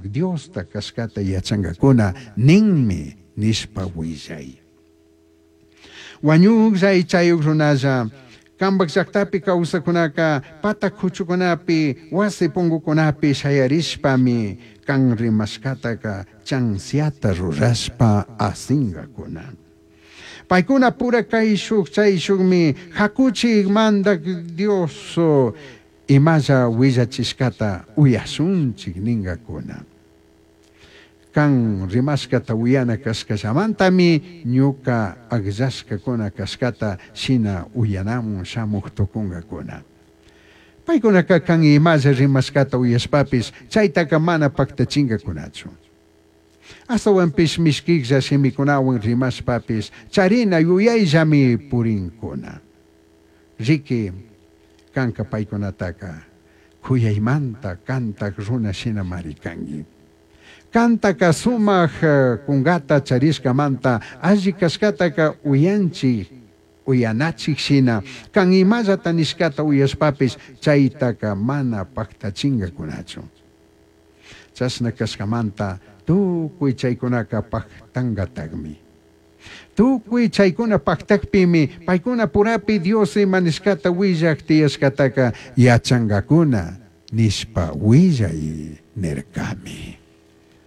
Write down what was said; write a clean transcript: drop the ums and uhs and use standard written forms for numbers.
Diosta cashcata yachangacuna ninmi nishpa huillai. Huañujlla aichayuj runalla, cambaj llajtapi causajcunaca pata cuchucunapi, huasi pungucunapi shayarishpami can rimashcataca chansiata rurashpa asingacuna. Paicuna pura caishuj chaishujmi jacuchij Mandaj Dios imalla huillachishcata uyashunchij ningacuna. Can rimashcata uyana cashcallamantami ñuca agllashcacuna cashcata shina uyanamun shamuj tucungacuna. Paicunaca can imalla rimashcata uyashpapish chaitaca mana pajtachingacunachu. Ashtahuanpish mishquijlla shimicunahuan rimashpapish charina yuyaillami purincuna. Riqui, canca paicunataca c'uyaimanta cantaj runa shinamari cangui. Cantaca sumaj cungata charishcamanta alli cashcataca uyanchij, uyanachij shina can imallata nishcata uyashpapish chaitaca mana pajtachingacunachu. Chashna cashcamanta tucui chaicunaca pajtangatajmi. Tucui chaicuna pajtajpimi paicuna purapi Dios ima nishcata huillaj tiyashcataca yachangacuna nishpa huillai nircami.